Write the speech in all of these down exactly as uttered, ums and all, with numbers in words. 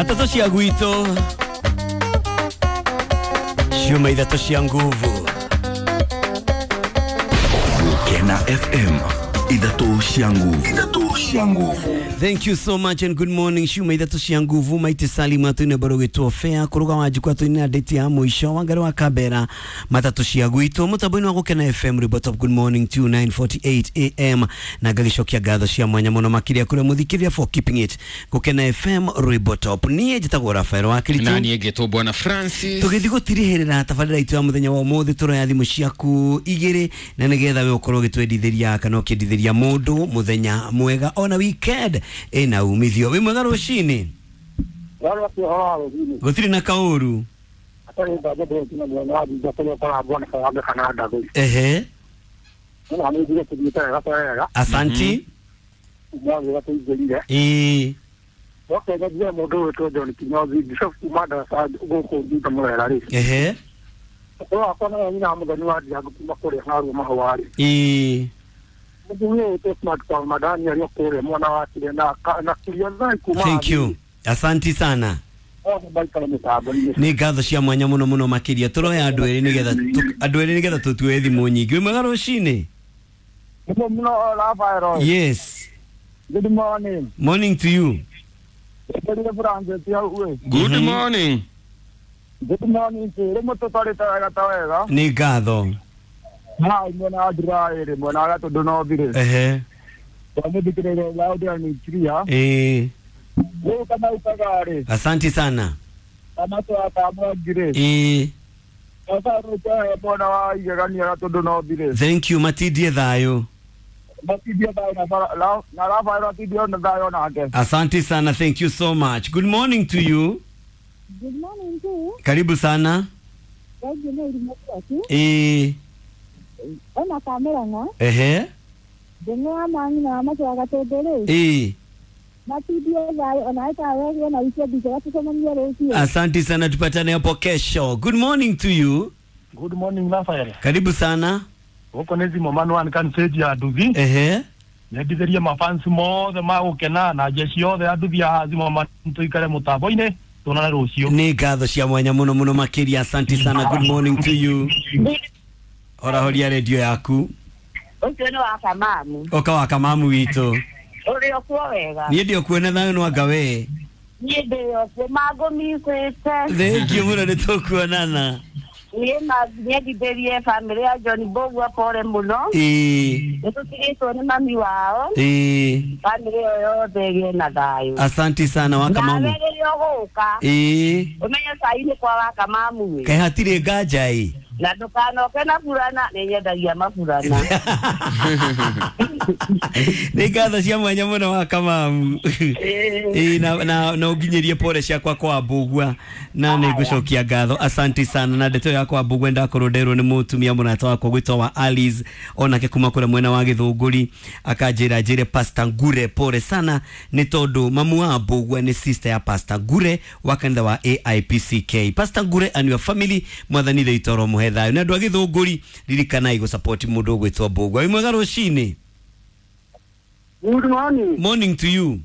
Matatu cia gwitũ ciuma ithatũ cia nguvu. Gukena F M ithatũ cia nguvu. Ithatũ cia nguvu. Thank you so much and good morning. Ciuma ithatũ cia nguvu maite Salim atwine baro gitwo fair kuruga wa jikwa twine date ya mwisho wangari wa kabera matatu cia gwitũ mutambo-inĩ wa Gukena F M report of good morning to nine forty-eight A M na ngagicokia ngatho cia mwanya muno makiria kuri muthikiria for keeping it Gukena F M report top. Niĩ njĩtagwo Rafael wa Kiritu na niĩ ngĩtwo Bwana Francis. Tũgĩthiĩ gũtirihĩrĩra tabarĩra itũ ya mũthenya wa ũmũthĩ tũroya thimũ ciaku igĩrĩ na nĩgetha we ũkorwo ũgĩtwendithĩria kana ũkĩendithĩria mũndũ mũthenya mwega ona weekend ina umithio. Wi mwega rucini gutiri na kauru. Ehe, asanti. Eh, ehe, eh. Thank you. Asanti sana. Ni ngatho cia mwanya muno muno makiria turoya andu eri nigetha andu eri nigetha tutue thimu nyingi. Wi mwega rucini? Yes. Good morning. Morning to you. Good morning. Good morning. Ni ngatho. Ha mwena adira mwena ga tondu no thire. Ehe. Wamithikirire loud and clear. Eh. Wewe kama ukagare. Asante sana. Kama to akamwagire. Eh. Sasa ruka bona wa igegania ga tondu no thire. Thank you matidie thayo. Matidie thayo na na Rafael atidie na thayo nake. Asante sana, thank you so much. Good morning to you. Good morning to you. Karibu sana. Eh. Ona kamera na. Ehe. Ndeng'o mangi na macho agatendere. Eh. Matidie thayo ona ita wewe na weekend njega tucemanie rũciũ. Asante sana, tupatane hapo kesho. Good morning to you. Good morning Rafael. Karibu sana. Huko nezi momano an kan seji ya nduthi. Ehe. Nyendithĩrie mafansi mothe ma Gukena na jeshi yothe ya nduthi ya Zimmerman tuikare mutambo-inĩ tuonane rũciũ. Nĩ ngatho cia mwanya muno muno makiria. Asante sana, good morning to you. Ora horia radio yaku. Ũcio nĩ wa kamamu. Oka wa kamamu witũ. Ũrĩ okuo wega. Niĩ ndĩ okuo na thayũ no anga we. Niĩ ndĩ okuo mangũmicĩte. Thank you mũno nĩ tũkuonana. Niĩ nyendithĩrie bamĩrĩ ya John Mbũgua pore mũno. Ĩĩ. Nĩtũtigĩtwo nĩ mami wao. Ĩĩ. Bamĩrĩ ĩyo yothe ĩgĩe na thayũ. Asante sana wa kamamu. Nawe rĩrĩa ũgũka. Ĩĩ. Ũmenye cai nĩ kwa wa kamamu ĩ. Kaĩ hatirĩ nganja ĩ. Na ndũkanoke na burana nĩ nyendagia maburana. Nĩ ngatho cia mwanya mũno wa kamamu. Ĩĩ na na na ũnginyĩrie pore ciakwa kwa Mbũgua na nĩ ngũcokia ngatho. Asante sana na ndeto yakwa Mbũgua ndakorwo nderwo nĩ mũtumia mũrata wakwa gwĩtwo wa Alice onake kuma kũrĩa mwena wa Gĩthũngũri akanjĩra njĩre Pastor Ngure pore sana nĩ tondũ mamu wa Mbũgua nĩ sister ya Pastor Ngure wa kanitha wa A I P C K. Pastor Ngure and your family mwathani thĩ muhe thayo na andũ a Gĩthũngũri ririkanai gũ support mũndũ ũgwĩtwo Mbũgua. Wĩ mwega rũcinĩ? Good morning. Morning to you.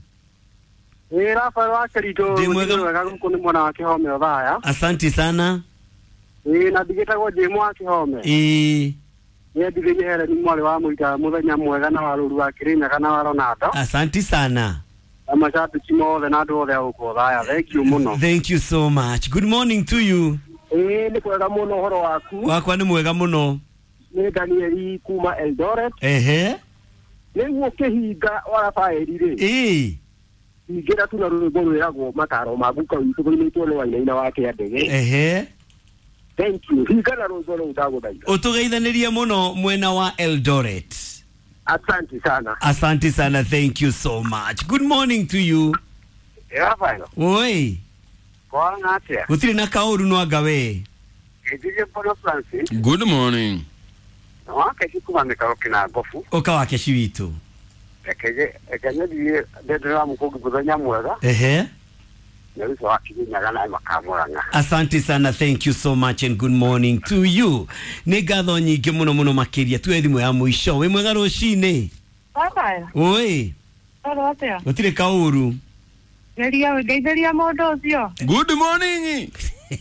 Ĩ Rafael wa Kericho. Ndĩ mwega gũkũ nĩ mwena wa Kĩhome Othaya. Asante sana. Ĩ na ndigĩtagwo Jĩmũ wa Kĩhome. Ĩ. Nyendithĩrie Helen mwarĩ wa Mũita mũthenya mwega na wa Rũru wa Kĩrĩnyaga na wa Ronaldo. Asante sana. Na mashabiki mothe na andũ othe a gũkũ Othaya. Thank you mũno. Thank you so much. Good morning to you. Ĩ nĩ kwega mũno ũhoro waku. Wakwa nĩ mwega mũno. Nĩ Danieli kuma Eldoret. Ehe. Nĩguo kĩhinga wa Rafaeli rĩ. Ĩ. Ingĩra tu na rwĩmbo rwĩragwo mataro ma guka witũ rũinĩtwo nĩ Wainaina wa Kĩandege. Ehe. Thank you. Hinga na rwĩmbo rũu ndagũthaitha. Ũtũgeithanĩrie mũno mwena wa Eldoret. Asante sana. Asante sana, thank you so much. Good morning to you. Rafael. Oi. Kwana atĩa? Gũtirĩ na kaũru no anga we. Ngirie Bwana Francis. Good morning. Wake kuma mĩkaro kĩna ngobu. Ũka wa keci witũ. Reke reke nyendie ndendera mũkũngi mũthenya mwega. Ehe. Asante sana, thank you so much and good morning to you. Nĩ ngatho nyingĩ mũno mũno makĩria tuwe thimũ ya mũico. Wĩ mwega rũcinĩ? Baba. Oi. Oro atia? Gũtirĩ kaũru. Geria ngeithĩria mũndũ ũcio. Good morning.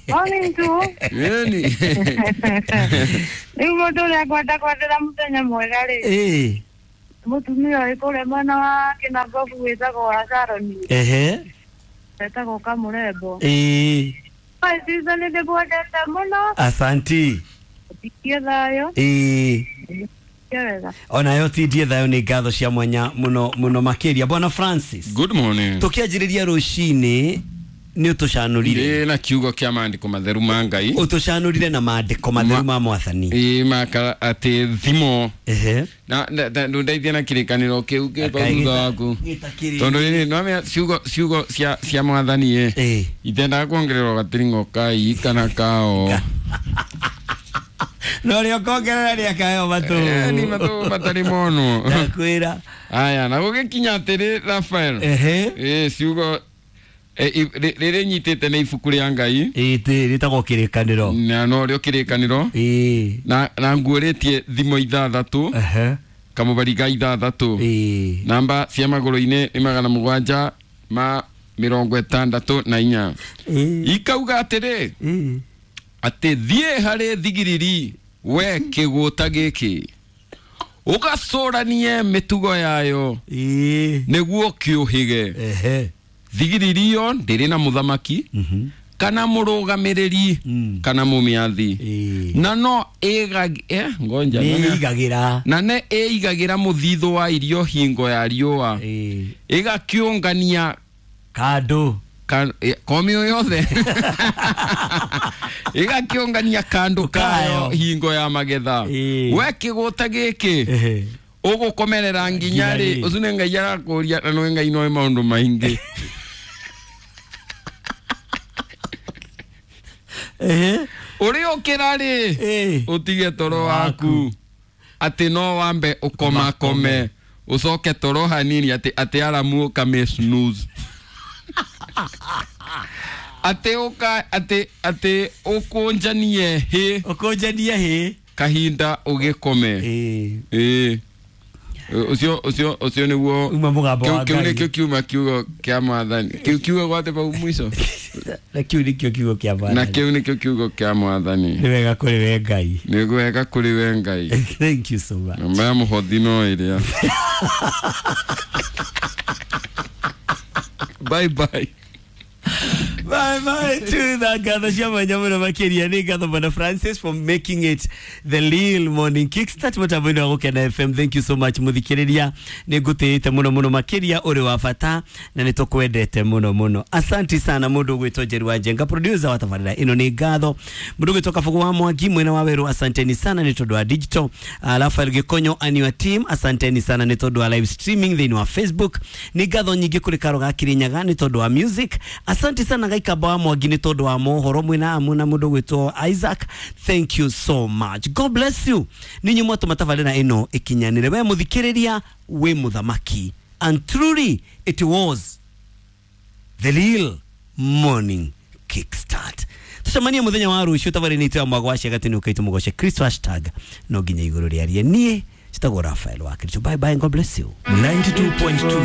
Morning tu. Yeni. Rĩu mũndũ ũrĩa ngwenda kwendera mũthenya mwega rĩ, Ĩĩ. mũtumia ũyũ kũrĩa mwena wa Kĩnangobu wĩtagwo wa Saroni, Ehe. etagwo Kamũrembo. Ĩĩ. My sister nĩ ndĩmwendete mũno, Asanti. tikie thayũ, Ĩĩ. tikie wega. Onayo tindie thayũ nĩ ngatho cia mwanya mũno mũno makĩria. Bwana Francis. Good morning. Tũkĩanjĩrĩria rũcinĩ nĩ ũtũcanũrire. Ndĩ na kiugo kĩa maandĩko matheru ma Ngai. Ũtũcanũrire na maandĩko matheru ma mwathani. Ĩ maka atĩ thimo. Ehe. Na na- na- ndũndeithie na kĩrĩkanĩro kĩu kĩ bau thutha waku. Gĩtakĩrĩ. Tondũ rĩrĩ nĩwamenya ciugo ciugo cia cia mwathani ĩ. Ĩĩ. Itendaga kuongererwo gatiring'o ka i kana ka o. No rĩo kongerera rĩakayo matũ. Eh, ni matũ matarĩ monwo. Ndakwĩra. Aya, na gũgĩkinya atĩrĩ Rafael. Ehe. Ĩ ciugo eh, i- rĩ- rĩrĩ nyitĩte nĩ ibuku rĩa Ngai. Ĩĩ rĩtagwo kĩrĩkanĩro. Na no rĩo kĩrĩkanĩro. Ĩĩ. Na na nguũrĩtie thimo ithathatũ Ehe. kamũbari ga ithathatũ. Ĩĩ. Namba cia magũrũ-inĩ nĩ magana mũgwanja ma mĩrongo ĩtandatũ na inya. Ĩĩ. Ikauga atĩrĩ Ĩĩ. atĩ thiĩ harĩ thigiriri we kĩgũta gĩkĩ ũgacũranie mĩtugo yayo Ĩĩ. nĩguo kĩũhĩge. Ehe. Thigiriri ĩyo ndĩrĩ na mũthamaki Mhm. kana mũrũgamĩrĩri Mm. kana mũmĩathi Ĩĩ. na no ĩgag eh, ngonja Nĩ ĩigagĩra. na nĩ ĩigagĩra mũthithũ wa irio hingo ya riũa Ĩĩ. ĩgakĩũngania Kandũ. ka- eh, komio yothe ĩgakĩũngania kandũ kayo Kayo. hingo ya magetha. Ĩĩ. We kĩgũta gĩkĩ Ehe. ũgũkomerera nginya Nginya rĩ rĩ. ũcio nĩ Ngai arakũria na nĩ Ngai noĩ maũndũ maingĩ. Ehe. Ũrĩ ũkĩra rĩ Ĩĩ. ũtige toro waku atĩ no wambe ũkomakome ũcoke toro hanini atĩ atĩ aramu ũkame snooze atĩ ũka atĩ atĩ ũkũnjanie hĩ Ũkũnjanie hĩ. kahinda ũgĩkome. Ĩĩ. Ĩĩ ũcio ũcio ũcio nĩguo Uma mũgambo kĩu wa kĩu Ngai. nĩkĩo kiuma kiugo kĩa mwathani kĩu kiugo gwate bau mũico. Na kĩu nĩkĩo kiugo kĩa Na mwathani. kĩu nĩkĩo kiugo kĩa mwathani. Nĩ wega kũrĩ we Ngai. Nĩ wega kũrĩ we Ngai. Thank you so much. Namba ya mũhothi no ĩrĩa. Bye bye. Bye bye to the ngatho cia mwanya mũno makĩria nĩ ngatho bwana Francis for making it the real morning kickstart mũtambo-inĩ wa Gũkena F M. Thank you so much mũthikĩrĩria, nĩ ngũtĩĩte mũno mũno makĩria, ũrĩ wa bata na nĩ tũkwendete mũno mũno. Asanti sana mũndũ ũgwĩtwo Njeru wa Njenga, producer wa tabarĩra ĩno nĩ ngatho. Mũndũ ũgwĩtwo Kabugu wa Mwangi mwena wa Werũ, asanteni sana nĩ tondũ wa digital. Uh, Rafael Gĩkonyo and your team, asanteni sana nĩ tondũ wa live streaming thĩinĩ wa Facebook. Nĩ ngatho nyingĩ kũrĩ Karo ga Kirinyaga nĩ tondũ wa music. Asante sana Gaikamba wa Mwangi nĩ tondũ wa mohoro mwena amu na mũndũ ũgwĩtwo Isaac. Thank you so much. God bless you. Ninyi mwatũma tabarĩra ĩno ĩkinyanĩre. We mũthikĩrĩria wĩ mũthamaki. And truly it was the real morning kickstart. Tucemanie muthenya wa rucio tabarĩra-inĩ itũ ya mwago wa ciagatĩ nĩ ũkaitũ mũgoce Kristo hashtag no nginya igũrũ rĩarie. Niĩ njĩtagwo Rafael wa Kristo. Bye bye and God bless you. ninety-two point two.